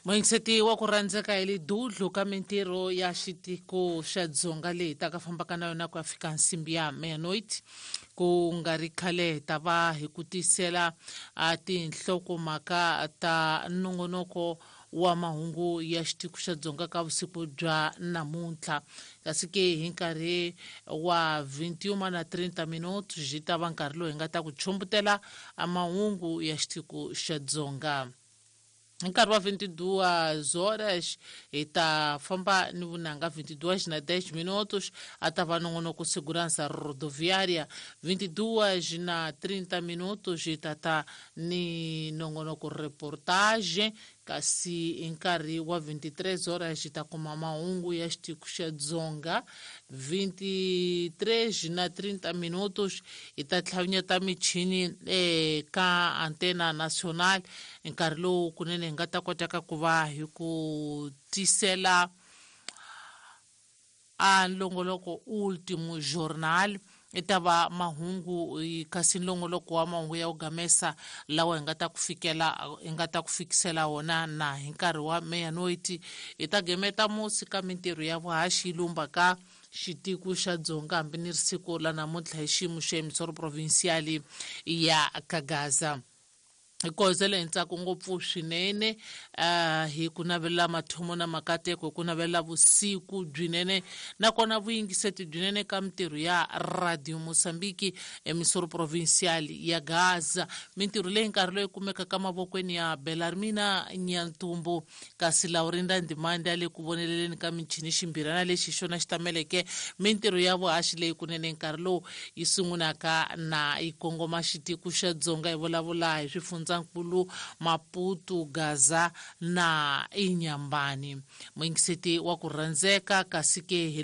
Muyingiseti wa ku rhandzeka, hi le dudlu ka mintirho ya xitiko xa Dzonga leyi ta ka fambaka na yona ku ya fika nsimbi ya meia-noite. Ku nga ri khale hi ta va hi ku tisela a tinhlokomhaka ta nongonoko wa mahungu ya xitiko xa Dzonga ka vusiku bya namuntlha, kasi ke hi nkarhi wa 21 na 30 minutos byi ta va nkarhi lowu hi nga ta ku chumbutela mahungu ya xitiko xa Dzonga. Hi nkarhi wa 22 horas hi ta famba ni vunanga, 22 na 10 minutos a ta va nongonoko Segurança Rodoviária, 22 na 30 minutos hi ta ta ni nongonoko reportage, kasi hi nkarhi wa 23 horas hi ta kuma mahungu ya xitiko xa Dzonga. 23 na 30 minutos hi ta tlhavinyeta michini eka Antena Nacional, nkarhi lowu kunene hi nga ta kotaka ku va hi ku tisela a nlongoloko Ultimo Jornal, i ta va mahungu, kasi nlongoloko wa mahungu ya ku gamesa lawa hi nga ta ku fikela, hi nga ta ku fikisela wona na hi nkarhi wa meia-noite. Hi ta gemeta musi ka mintirho ya vuhaxi yi lumba ka xitiko xa Dzonga hambi ni ri siku la namuntlha hi xiyimo xa emisoro provincial ya Kagaza. Hi kozele hi ntsako ngopfu swinene, hi ku navelela mathomo na makateko, hi ku navelela vusiku byinene nakona vuyingiseti byinene ka mintirho ya Radio Mozambique, emisoro provincial ya Gaza, mintirho leyi nkarhi loyi kumekaka mavokweni ya Belarmina Nyantumbu, kasi Laurinda Ndimande ya le ku voneleleni ka michini. Ximbirana lexi xona xi tameleke mintirho ya vuhaxi leyi kunene nkarhi lowu yi sungulaka na yi kongoma xitiko xa Dzonga, hi vulavula hi swifundzankulu Maputo, Gaza na Inyambani. Muyingiseti wa ku rhandzeka, kasi ke hi